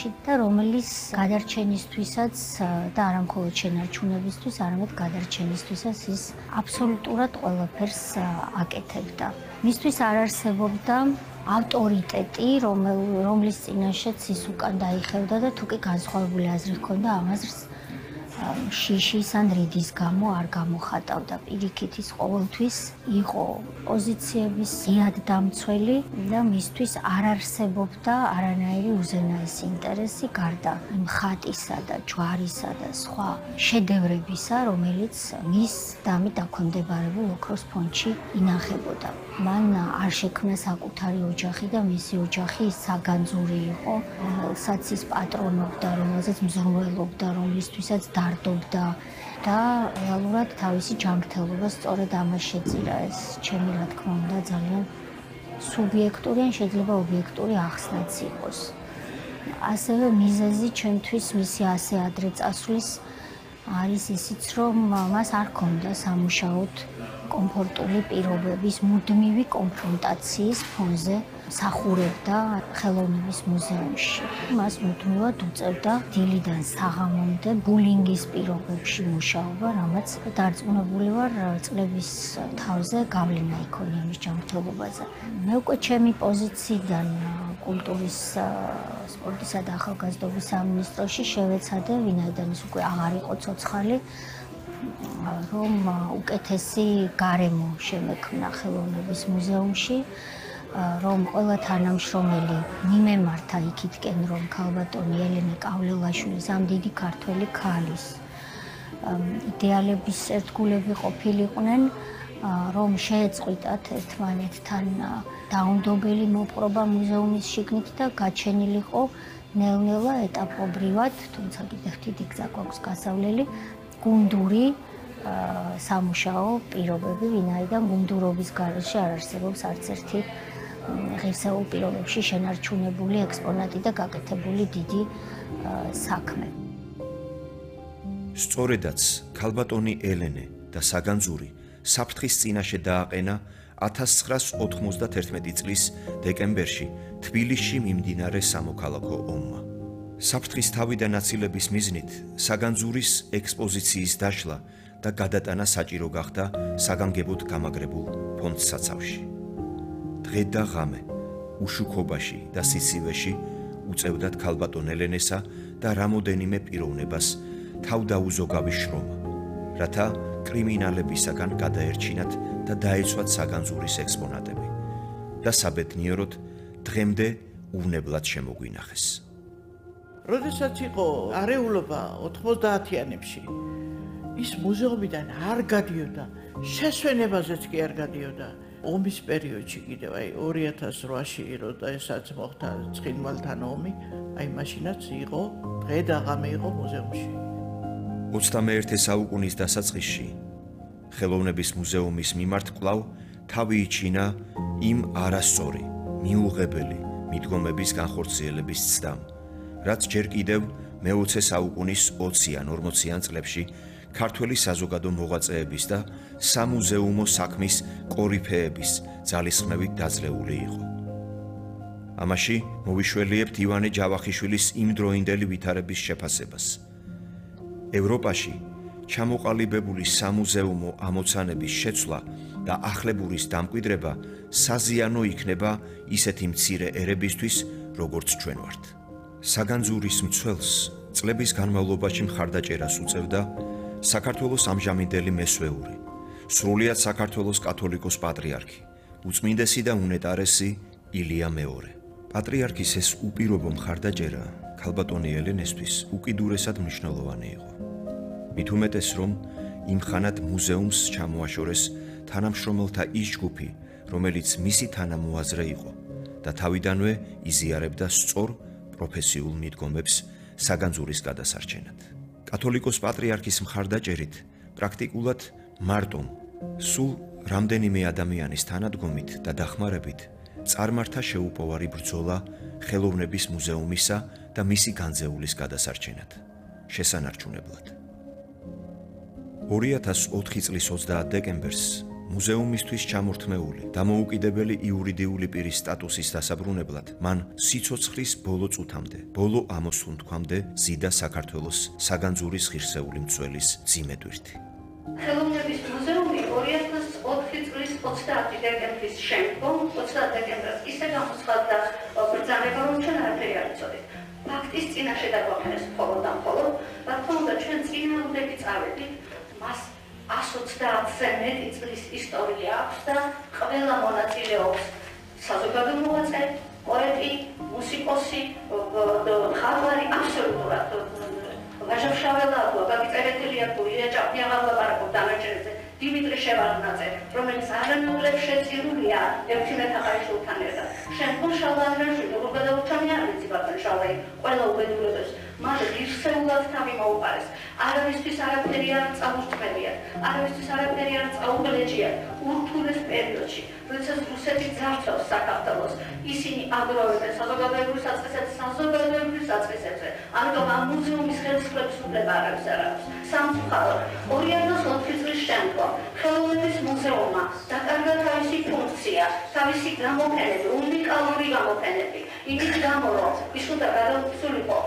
სახლში და რომელიც გადარჩენისთვისაც და არა მხოლოდ შენარჩუნებისთვის, არამედ გადარჩენისთვისაც ის აბსოლუტურად ყველაფერს აკეთებდა. მისთვის არ არსებობდა ავტორიტეტი, რომლის წინაშეც ის უკან დაიხევდა და თუ კი განსხვავებული აზრი ჰქონდა, ამ აზრს შიშის ან რიდის გამო არ გამოხატავდა. პირიქით ის ყოველთვის იყო პოზიციების ზიად დამცველი და მისთვის არ არსებობდა არანაირი უზენაესი ინტერესი გარდა იმ ხატისა და ჯვარისა და სხვა შედევრებისა, რომელიც მის დამით დაქვემდებარებულ ოქროს ფონდში ინახებოდა. მან არ შექმნა საკუთარი ოჯახი და მისი ოჯახი საგანძური იყო, რომელსაც ის პატრონობდა, რომელზეც მზრუნველობდა, რომლისთვისაც დარდობდა და რეალურად თავისი ჯანმრთელობა სწორედ ამას შეწირა. ეს ჩემი რა თქმა უნდა ძალიან სუბიექტური ან შეიძლება ობიექტური ახსნაც იყოს. ასევე მიზეზი ჩემთვის მისი ასე ადრე წასვლის არის ისიც, რომ მას არ ჰქონდა სამუშაოდ კომფორტული პირობების მუდმივი კონფრონტაციის ფონზე მსახურობდა ხელოვნების მუზეუმში. მას მუდმივად უწევდა დილიდან საღამომდე ბულინგის პირობებში მუშაობა, რამაც დარწმუნებული ვარ წლების თავზე გავლენა იქონია მის ჯანმრთელობაზე. მე უკვე ჩემი პოზიციიდან კულტურის, სპორტისა და ახალგაზრდობის სამინისტროში შევეცადე, ვინაიდან ის უკვე აღარ იყო ცოცხალი, რომ უკეთესი გარემო შემექმნა ხელოვნების მუზეუმში, რომ ყველა თანამშრომელი მიმემართა იქითკენ, რომ ქალბატონი ელენე კავლელაშვილის ამ დიდი ქართველი ქალის იდეალების ერთგულები ყოფილიყვნენ, რომ შეეწყვიტათ ერთმანეთთან დაუნდობელი მოპყრობა მუზეუმის შიგნით და გაჩენილიყო ნელ-ნელა ეტაპობრივად, თუმცა კიდევ დიდი გზა გვაქვს გასავლელი, გუნდური სამუშაო პირობები, ვინაიდან გუნდურობის გარეშე არ არსებობს არც ერთი ღირსეულ პირობებში შენარჩუნებული ექსპონატი და გაკეთებული დიდი საქმე. სწორედაც ქალბატონი ელენე და საგანძური საფრთხის წინაშე დააყენა 1991 წლის დეკემბერში თბილისში მიმდინარე სამოქალაქო ომმა. საფრთხის თავიდან აცილების მიზნით საგანძურის ექსპოზიციის დაშლა და გადატანა საჭირო გახდა საგანგებოდ გამაგრებულ ფონდსაცავში. დღე და ღამე უშუქობაში და სიცივეში უწევდათ ქალბატონ ელენესა და რამოდენიმე პიროვნებას თავდაუზოგავი შრომა, რათა კრიმინალებისაგან გადაერჩინათ და დაეცვათ საგანძურის ექსპონატები და საბედნიეროდ დღემდე უვნებლად შემოგვინახეს. როდესაც იყო არეულობა 90-იანებში, ის მუზეუმიდან არ გადიოდა, შესვენებაზეც კი არ გადიოდა. ომის პერიოდში კიდევ 2008-ში როდესაც მოხდა ცხინვალთან ომი, მაშინაც იყო დღე და ღამე იყო მუზეუმში. 21 საუკუნის დასაწყისში ხელოვნების მუზეუმის მიმართ კვლავ თავი იჩინა იმ არასწორი, მიუღებელი მიდგომების განხორციელების ცდამ, რაც ჯერ კიდევ მე-20 საუკუნის 20 ან 40-იან წლებში ქართველი საზოგადო მოღვაწეების და სამუზეუმო საქმის კორიფეების ძალისხმევით დაძლეული იყო. ამაში მოვიშველიებთ ივანე ჯავახიშვილის იმდროინდელი ვითარების შეფასებას. ევროპაში ჩამოყალიბებული სამუზეუმო ამოცანების შეცვლა და ახლებურის დამკვიდრება საზიანო იქნება ისეთი მცირე ერებისთვის, როგორც ჩვენ ვართ. საგანძურის მცველს წლების განმავლობაში მხარდაჭერას უწევდა საქართველოს ამჟამინდელი მესვეური, სრულიად საქართველოს კათოლიკოს პატრიარქი, უწმინდესი და უნეტარესი ილია მეორე. პატრიარქის ეს უპირობო მხარდაჭერა ქალბატონი ელენესთვის უკიდურესად მნიშვნელოვანი იყო. მით უმეტეს, რომ იმ ხანად მუზეუმს ჩამოაშორეს თანამშრომელთა ის ჯგუფი, რომელიც მისი თანამოაზრე იყო და თავიდანვე იზიარებდა სწორ პროფესიულ მიდგომებს საგანძურის გადასარჩენად. კათოლიკოს პატრიარქის მხარდაჭერით პრაქტიკულად მარტომ სულ რამდენიმე ადამიანის თანადგომით და დახმარებით წარმართა შეუპოვარი ბრძოლა ხელოვნების მუზეუმისა და მისი განძეულის გადასარჩენად, შესანარჩუნებლად. 2004 წლის 30 დეკემბერს მუზეუმისთვის ჩამორთმეული, დამოუკიდებელი იურიდიული პირის სტატუსის დასაბრუნებლად, მან სიცოცხლის ბოლო წუთამდე, ბოლო ამოსუნთქვამდე ზიდა საქართველოს საგანძურის ღირსეული მცველის ძიმედვირთი. ხელოვნების მუზეუმი 2004 წლის 30 დეკემბრის შემდგომ 30 დეკემბერს ისე გამოცხადდა ბრძანება, რომ ჩვენ არაფერი არ ვიცოდით. ფაქტის წინაშე დაგვაყენეს მხოლოდ და მხოლოდ, რა თქმა უნდა, ჩვენ წინააღმდეგი წავედით, მას 130-ზე მეტი წლის ისტორია აქვს და ყველა მონაწილეობს საზოგადო მოღვაწე, პოეტი, მუსიკოსი, მხატვარი, აბსოლუტურად ვაჟა-შაველა, გაგიწერეთელია, ილია ჭაპნიაღა ლაპარაკობს დანარჩენებზე, დიმიტრი შევარდნაძე, რომელიც არანაკლებ შეწირულია ერთიმეთაყაიშვილთან ერთად. შემდგომ შალვა ანდრიაშვილი, როგორ გადაურჩამია არიცი ბატონ შალვაი, ყველა უბედურებებს, მას ღირსეულად თავი მოუყარეს. არავისთვის არაფერი არ წამოსწმებიათ, არავისთვის არაფერი არ წაუგლეჯიათ. ურთულეს პერიოდში, როდესაც რუსეთი ძარცვავს საქართველოს, ისინი აგროვებენ საზოგადოებრივ საწყისებზე. ამიტომ ამ მუზეუმის ხელისუფლების უფლება არავის არ აქვს. სამწუხაროდ, 2004 წლის შემდგომ ხელოვნების მუზეუმმა დაკარგა თავისი ფუნქცია, თავისი გამოფენები, უნიკალური გამოფენები. იმის გამო, რომ ის უნდა გადაუცულიყო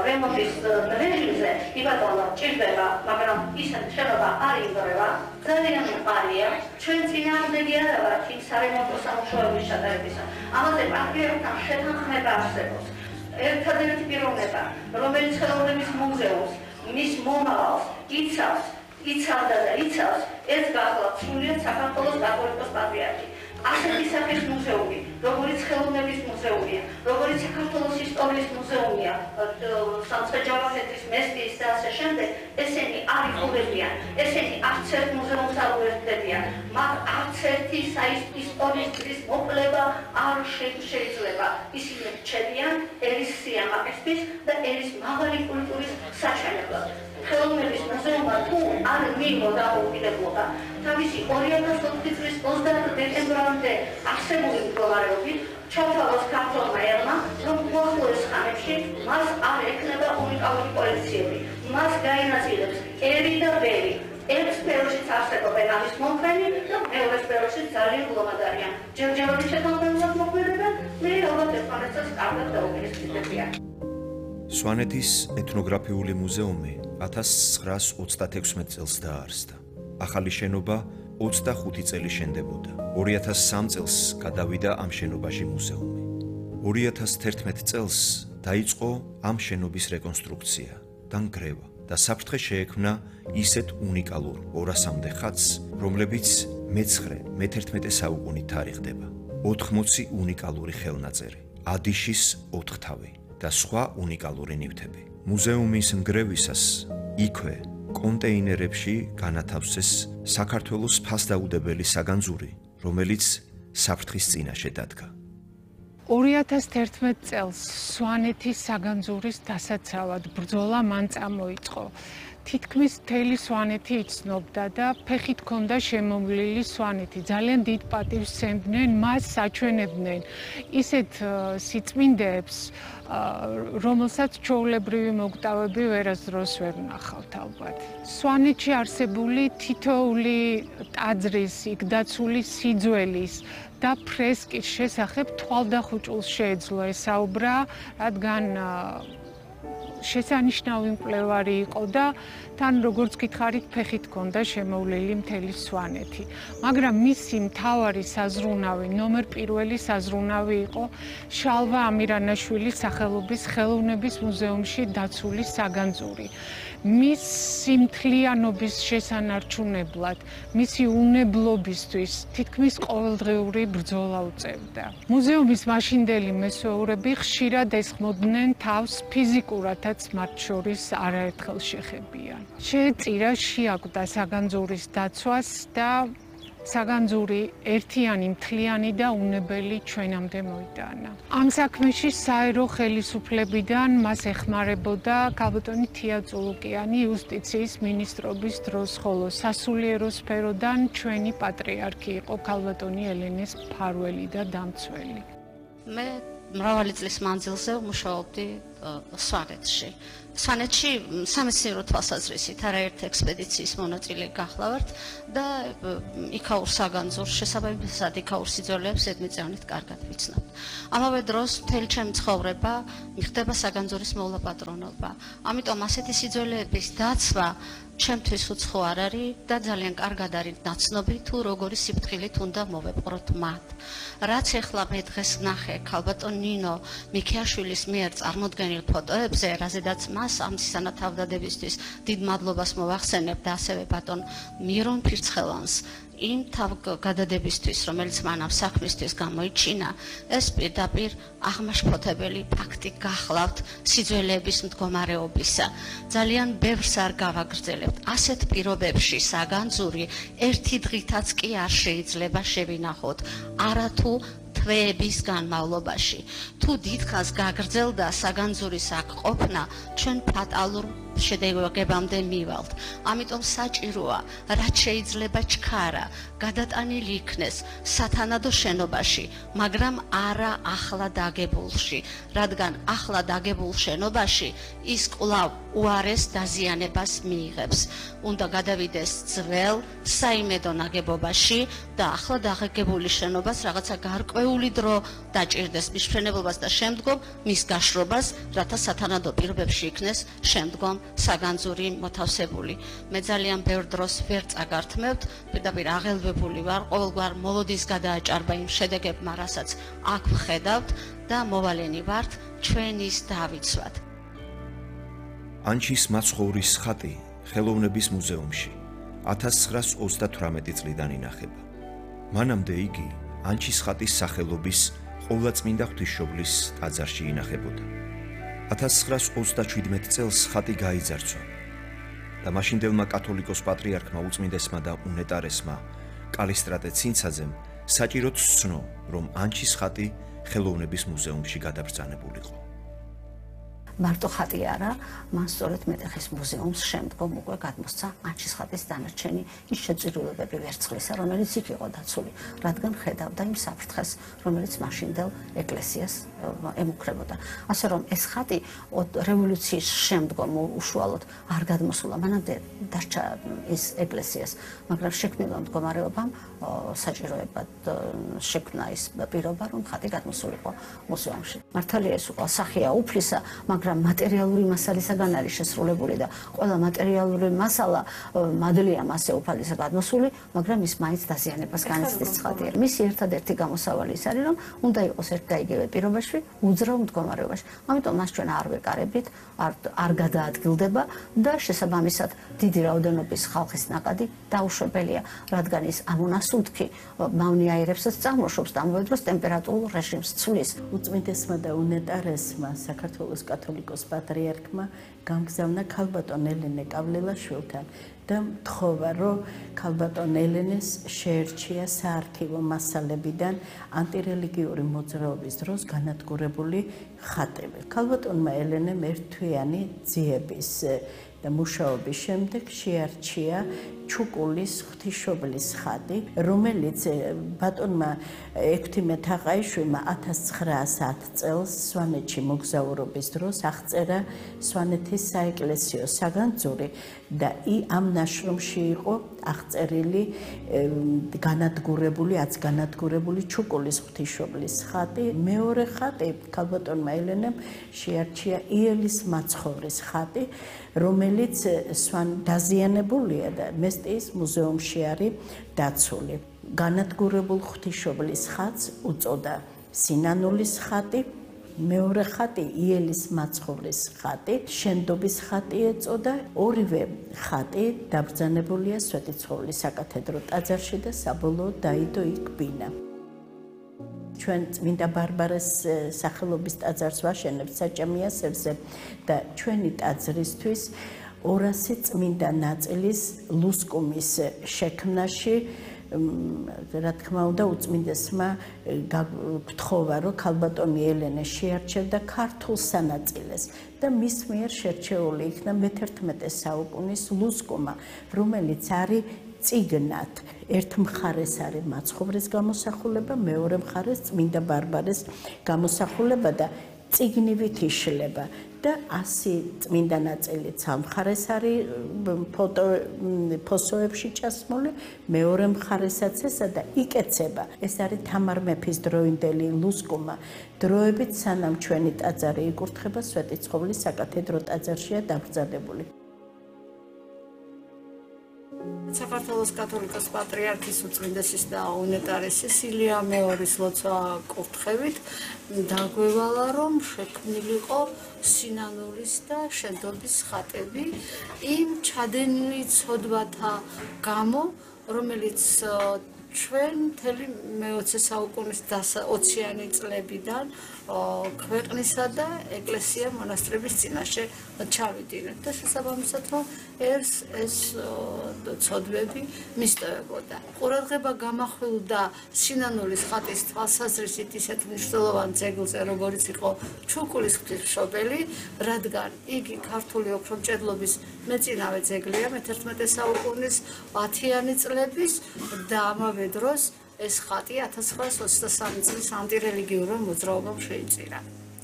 რემონტის რეჟიმზე, იბატონო, ჭირდება, მაგრამ ისეთი შენობა არ იგროვა. ძალიან მყარია. ჩვენ წინააღმდეგი არ ვართ იმ სარემონტო სამუშაოების ჩატარებისა. ამაზე პატრიოტთან შეთანხმება არსებობს. ერთადერთი პიროვნება, რომელიც ხელოვნების მუზეუმს, მის მომავალს იცავდა და იცავს, ეს გახლავთ სრულიად საქართველოს კათოლიკოს პატრიარქი. ასეთი სახის მუზეუმი, როგორც ხელოვნების მუზეუმია, როგორც საქართველოს ისტორიის მუზეუმია, სამცხე-ჯავახეთის მესტიის და ასე შემდეგ, ესენი არ იხურებიან, ესენი არც ერთ მუზეუმს არ უერთდებიან, მათ არც ერთი ისტორიის მოკვლევა არ შეიძლება. ისინი რჩებიან ერის სიამაყისთვის და ერის მაღალი კულტურის საჩვენებლად. ხელოვნების მუზეუმმა თუ არ მიიღო დამოუკიდებლობა, თავისი 2004 წლის 30 დეკემბრამდე არსებული მდგომარეობით ჩავთავაზ ქართველმა ერმა, რომ უახლოეს ხანებში მას არ ექნება უნიკალური კოლექციები. მას გაინაწილებს ერი და ბერი. ერთ სფეროშიც არსებობენ ამის მომხრენი და მეორე სფეროშიც ძალიან გლომად არიან. ჯერჯერობით შეთანხმებულად მოქმედებენ, მე ალბათ ერთმანეთს კარგად დაუპირისპირდებიან. სვანეთის ეთნოგრაფიული მუზეუმი 1936 წელს დაარსდა. ახალი შენობა 25 წელი შენდებოდა. 2003 წელს გადავიდა ამ შენობაში მუზეუმი. 2011 წელს დაიწყო ამ შენობის რეკონსტრუქცია და ნგრევა და საფრთხე შეექმნა ისეთ უნიკალურ 200-მდე ხატს, რომლებიც მე-11 საუკუნით თარიღდება. 80 უნიკალური ხელნაწერი, ადიშის 4 თავი და სხვა უნიკალური ნივთები. მუზეუმის ნგრევისას იქვე კონტეინერებში განათავსეს საქართველოს ფასდაუდებელი საგანძური, რომელიც საფრთხის წინაშე დადგა. 2011 წელს სვანეთის საგანძურის დასაცავად ბრძოლა მან წამოიწყო. თითქმის მთელი სვანეთი იცნობდა და ფეხით ჰქონდა შემოვლილი სვანეთი. ძალიან დიდ პატივს სცემდნენ, მას საჩვენებდნენ ისეთ სიწმინდეებს, რომელსაც ჩვეულებრივი მოგტავები ვერასდროს ვერ ვნახავთ ალბათ. სვანეთში არსებული თითოეული ტაძრის, იქ დაცული სიძველის და ფრესკის შესახებ თვალდახუჭულს შეეძლო ესაუბრა, რადგან შესანიშნავი მკვლევარი იყო და თან როგორც გითხარით ფეხით ჰქონდა შემოვლილი მთელი სვანეთი. მაგრამ მისი მთავარი საზრუნავი, ნომერ პირველი საზრუნავი იყო შალვა ამირანაშვილის სახელობის ხელოვნების მუზეუმში დაცული საგანძური. მისი მთლიანობის შესანარჩუნებლად, მისი უნებლობისთვის თითქმის ყოველდღიური ბრძოლა უწევდა. მუზეუმის მაშინდელი მესვეურები ხშირად ესხმოდნენ თავს ფიზიკურადაც მათ შორის არაერთხელ შეხებიან. შეეწირა შეაკვდა საგანძურის დაცვას და საგანძური ერთიანი, მთლიანი და უნებელი ჩვენამდე მოიტანა. ამ საქმეში საერო ხელისუფლებიდან მას ეხმარებოდა ქალბატონი თია წულუკიანი იუსტიციის მინისტრობის დროს, ხოლო სასულიერო სფეროდან ჩვენი პატრიარქი იყო ქალბატონი ელენეს ფარველი და დამცველი. მე მრავალი წლის მანძილზე ვმუშაობდი სვანეთში. სვანეთში სამეცნიერო თვალსაზრისით არაერთ ექსპედიციის მონაწილე გახლავართ და იქაურ საგანძურს შესაბამისად იქაურ სიძველეებს ზედმიწევნით კარგად ვიცნობთ. ამავე დროს მთელი ჩემი ცხოვრება მიხდება საგანძურის მოვლა-პატრონობა. ამიტომ ასეთი სიძველეების დაცვა ჩემთვის უცხო არ არის და ძალიან კარგად არის ნაცნობი თუ როგორი სიფრთხილით უნდა მოვეპყროთ მათ. რაც ახლა მე დღეს ვნახე ქალბატონ ნინო მიქიაშვილის მიერ წარმოდგენილ ფოტოებზე, რაზედაც მას ამ სანათავდადებისთვის დიდ მადლობას მოვახსენებ და ასევე ბატონ მირონ ფირცხელანს იმ თავგადადებისთვის, რომელიც მან ამ საქმისთვის გამოიჩინა, ეს პირდაპირ აღმაშფოთებელი ფაქტი გახლავთ სიძველეების მდგომარეობისა. ძალიან ბევრს არ გავაგრძელებთ. ასეთ პირობებში საგანძური ერთი დღითაც კი არ შეიძლება შევინახოთ, არათუ თვეების განმავლობაში. თუ დიდხანს გაგრძელდა საგანძურის აქ ყოფნა, ჩვენ ფატალურ შედეგებამდე მივალთ. ამიტომ საჭიროა, რაც შეიძლება ჩქარა, გადატანილი იქნეს სათანადო შენობაში, მაგრამ არა ახლა დაგებულში, რადგან ახლა დაგებულ შენობაში ის კვლავ უარეს დაზიანებას მიიღებს. უნდა გადავიდეს ძველ საიმედო ნაგებობაში და ახლა დაგებული შენობას რაღაცა გარკვეული დრო დაჭირდეს მის მშენებლობას და შემდგომ მის გაშრობას, რათა სათანადო პირობებში იქნეს შემდგომ საგანძური მოთავსებული. მე ძალიან ბევრ დროს ვერ წაგართმევთ, პირდაპირ აღელვებული ვარ ყოველგვარ მოლოდის გადააჭარბა იმ შედეგებმა, რასაც აქ ვხედავთ და მოვალენი ვართ ჩვენის დავიცვათ. ანჩის მაცხოვრის ხატი ხელოვნების მუზეუმში 1938 წლიდან ინახება. მანამდე იგი ანჩის ხატის სახელობის ყოვლადწმინდა ღვთისმშობლის ტაძარში ინახებოდა. 1937 წელს ხატი გაიძარცვა და მაშინდელმა კათოლიკოს პატრიარქმა უწმინდესმა და უნეტარესმა კალისტრატე ცინცაძემ საჭიროდ სცნო, რომ ანჩის ხატი ხელოვნების მუზეუმში გადაბრძანებულიყო. მარტო ხატი არა, მან სწორედ მეტეხის მუზეუმს შემდგომ უკვე გადმოსცა ანჩის ხატის დანარჩენი ის შეწირულობები ვერცხლისა, რომელიც იქ იყო დაცული, რადგან ხედავდა იმ საფრთხეს, რომელიც მაშინდელ ეკლესიას ემუქრებოდა. ასე რომ ეს ხატი რევოლუციის შემდგომ უშუალოდ არ გადმოსულა, მანამდე დარჩა ის ეკლესიას, მაგრამ შექმნილ მდგომარეობამ საჭიროებად შექმნა ის პირობა, რომ ხატი გადმოსულიყო მუზეუმში. მართალია ეს უკვე სახეა უფლისა, მაგრამ მატერიალური მასალისაგან არის შესრულებული და ყველა მატერიალური მასალა მადლია მასე უფალისა გადმოსული, მაგრამ ის მაინც დაზიანებას განიცდის ხატია. მისი ერთადერთი გამოსავალი ის არის, რომ უნდა იყოს ერთ და იგივე პირობაში, უძრავ მდგომარეობაში. ამიტომ მას ჩვენ არ ვეკარებით, არ გადაადგილდება და შესაბამისად დიდი რაოდენობის ხალხის ნაკადი დაუშვებელია, რადგან ის ამონასუნთქი მავნიაირებსაც წარმოშობს და ამავე დროს ტემპერატურულ რეჟიმს ცვლის. უწმინდესმა და უნეტარესმა საქართველოს კათოლიკოს პატრიარქმა გამგზავნა ქალბატონ ელენე კავლელაშვილთან და მთხოვა, რომ ქალბატონ ელენეს შეერჩია საარქივო მასალებიდან ანტირელიგიური მოძრაობის დროს განადგურებული ხატები. ქალბატონმა ელენემ ერთთვიანი ძიების და მუშაობის შემდეგ შეარჩია ჩუკულის ღვთისმშობლის ხატი, რომელიც ბატონმა ექვთიმე თაყაიშვილმა 1910 წელს სვანეთში მოგზაურობის დროს აღწერა სვანეთის საეკლესიო საგანძური და ამ ნაშრომში იყო აღწერილი განადგურებული ჩუკულის ღვთისმშობლის ხატი. მეორე ხატი ქალბატონმა ელენემ შეარჩია იელის მაცხოვრის ხატი, რომელიც დაზიანებულია და მესტიის მუზეუმში არის დაცული. განადგურებულ ღვთისმშობლის ხატს უწოდა სინანულის ხატი, მეორე ხატი იელის მაცხოვრის ხატი, შენდობის ხატი ეწოდა. ორივე ხატი დაბრძანებულია სვეტიცხოვლის საკათედრო ტაძარში და საბოლოოდ დაიდო იქ ბინა. ჩვენ წმინდა ბარბარეს სახელობის ტაძარს ვაშენებთ საჭამიასებზე და ჩვენი ტაძრისთვის 200 წმინდა ნაწილის ლუსკუმის შექმნაში, რა თქმა უნდა, უწმინდესმა გთხოვა, რომ ქალბატონი ელენე შეარჩევდა ქართულ სანაწილეს და მის მიერ შერჩეული იქნა მე-11 საუკუნის ლუსკუმა, რომელიც არის წიგნად. ერთ მხარეს არის მაცხოვრის გამოსახულება, მეორე მხარეს წმინდა ბარბარეს გამოსახულება და წიგნივით იშლება და 100 წმინდა ნაწილიც ამ მხარეს არის ფოსოებში ჩასმული, მეორე მხარესაც ესა და იკეცება. ეს არის თამარ მეფის დროინდელი ლუსკუმა. დროებით სანამ ჩვენი ტაძარი იკურთხება, სვეტიცხოვლის საკათედრო ტაძარშია დაკრძალებული. საქართველოს კათოლიკოს პატრიარქის უწმინდესის და უნეტარესის ილია მეორის ლოცვა კურთხევით დაგვევალა, რომ შექმნილიყო სინანულის და შენდობის ხატები იმ ჩადენილი ცოდვათა გამო, რომელიც ჩვენ მთელი მე-20 საუკუნის 20-იანი წლებიდან ქვეყნისა და ეკლესია მონასტრების წინაშე ჩავიდინეთ და შესაბამისად რომ ეს ცოდვები მისტევებოდა. ყურადღება გამახვილდა სინანულის ხატის თვალსაზრისით ისეთ მნიშვნელოვან ძეგლზე, როგორც იყო ჩუკულის ღვთისმშობელი, რადგან იგი ქართული ოქრომჭედლობის მეწინავე ძეგლია მე-11 საუკუნის 10-იანი წლების და ამავე დროს ეს ხატი 1923 წლის ანტირელიგიურ მოძრაობამ შეიწირა.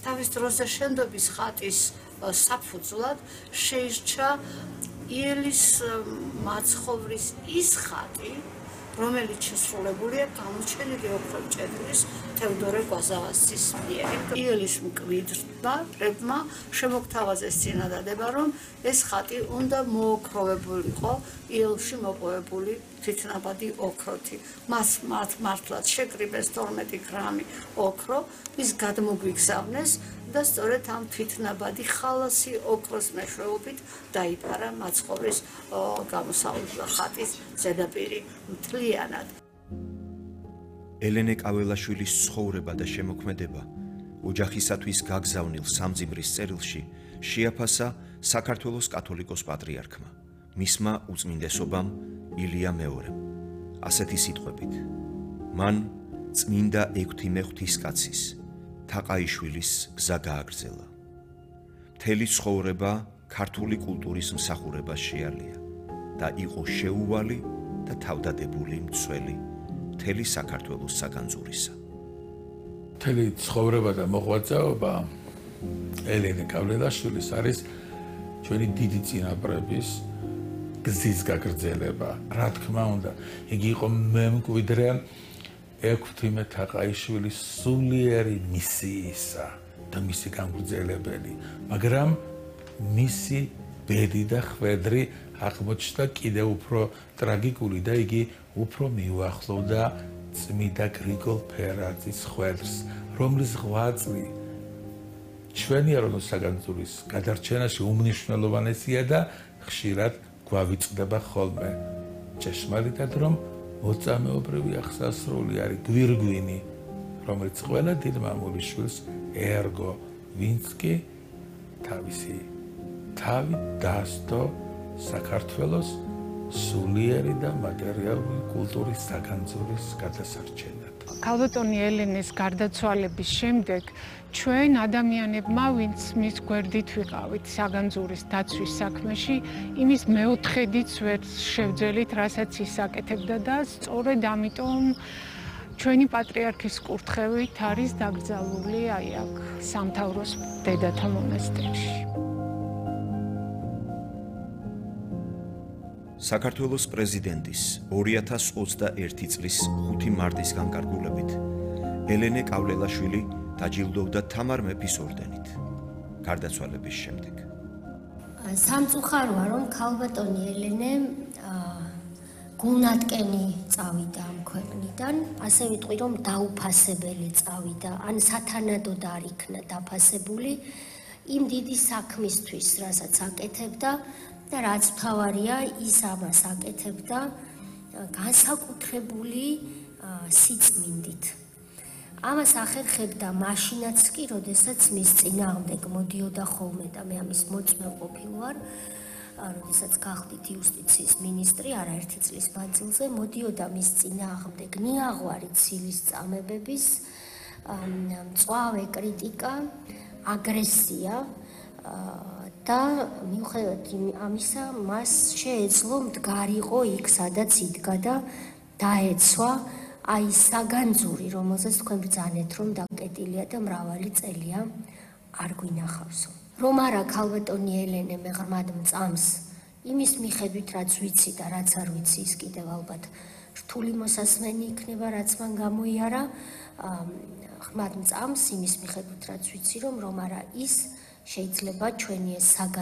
თავის დროზე შენდობის ხატის საფუძვლად შეირჩა იელის მაცხოვრის ის ხატი, რომელიც შესრულებულია გამოჩენილი ოქრომჭედლის თევდორე კვაზავასის მიერ. იელის მკვიდრმა შემოგთავაზეს წინადადება, რომ ეს ხატი უნდა მოოქროვებულიყო იელში მოპოვებული თვითნაბადი ოქროთი. მას მართლაც შეკრიბეს 12 გრამი ოქრო, ის გადმოგვიგზავნეს და სწორედ ამ თვითნაბადი ხალასი ოქროს მეშვეობით დაიფარა მაცხოვრის ხატის ზედაპირი მთლიანად. ელენე კაველაშვილის ცხოვრება და შემოქმედება ოჯახისათვის გაგზავნილ სამძიმრის წერილში შეაფასა საქართველოს კათოლიკოს პატრიარქმა, მისმა უწმინდესობამ ილია მეორემ. ასეთი სიტყვებით: მან წმინდა 6 მეღვთისკაცის თაყაიშვილის გზა გააგრძელა. მთელი ცხოვრება ქართული კულტურის მსახურებას შეალია და იყო შეუვალი და თავდადებული მცველი მთელი საქართველოს საგანძურისა. მთელი ცხოვრება და მოღვაწეობა ელენე კაველაშვილის არის ჩვენი დიდი წინაპრების გზის გაგრძელება. რა თქმა უნდა, იგი იყო მემკვიდრე ექვთიმე თაყაიშვილის სულიერი მისიისა და მისი გამგრძელებელი, მაგრამ მისი ბედი და ხვედრი აღმოჩნდა კიდევ უფრო ტრაგიკული და იგი უფრო მიუახლოვდა წმიდა გრიგოლ ფერაძის ხვედრს, რომლის ღვაწლი ჩვენი ეროვნულ საგანძურის გადარჩენაში უმნიშვნელოვანესია და ხშირად გვავიწყდება ხოლმე. ჭეშმარიტად რომ მოწამეობრივი აღსასრული არის გვირგვინი, რომელიც ყველა დიდ მამულიშვილს ერგო, ვინც კი თავისი თავი დასდო საქართველოს სულიერი და მატერიალური კულტურის საგანძურის გადასარჩენად. ქალბატონი ელენეს გარდაცვალების შემდეგ ჩვენ ადამიანებმა, ვინც მის გვერდით ვიყავით საგანძურის დაცვის საქმეში, იმის მეოთხედიც ვერ შევძელით, რასაც ის აკეთებდა და სწორედ ამიტომ ჩვენი პატრიარქის კურთხევით არის დაკრძალული აი აქ სამთავროს დედათა მონასტერში. საქართველოს პრეზიდენტის 2021 წლის 5 მარტის განკარგულებით ელენე კაველაშვილი დაჯილდოვდა თამარ მეფის ორდენით გარდაცვალების შემდეგ. სამწუხაროა, რომ ქალბატონი ელენე გულნატკენი წავიდა ამ ქვეყნიდან, ასე ვიტყვი, რომ დაუფასებელი წავიდა, ან სათანადოდ არ იქნა დაფასებული იმ დიდი საქმისთვის, რასაც აკეთებდა და რაც მთავარია, ის ამას აკეთებდა განსაკუთრებული სიწმინდით. ამას ახერხებდა მაშინაც კი, როდესაც მის წინააღმდეგ მოდიოდა ხოლმე და მე ამის მოწმე ყოფილი ვარ, როდესაც გახდით იუსტიციის მინისტრი არაერთი წლის მანძილზე, მოდიოდა მის წინააღმდეგ ნიაღვარი ცილის წამებების, მწვავე კრიტიკა, აგრესია და მიუხედავად ამისა, მას შეეძლო მდგარიყო იქ, სადაც იდგა და დაეცვა აი საგანძური, რომელზეც თქვენ ბრძანეთ, რომ დაკეტილია და მრავალი წელია არ გვინახავსო. რომ არა ქალბატონი ელენე მე ღრმად მწამს, იმის მიხედვით რაც ვიცი და რაც არ ვიცი, ის კიდევ ალბათ რთული მოსასმენი იქნება, რაც მან გამოიარა, ღრმად მწამს იმის მიხედვით რაც ვიცი, რომ არა ის შეიძლება ჩვენი ეს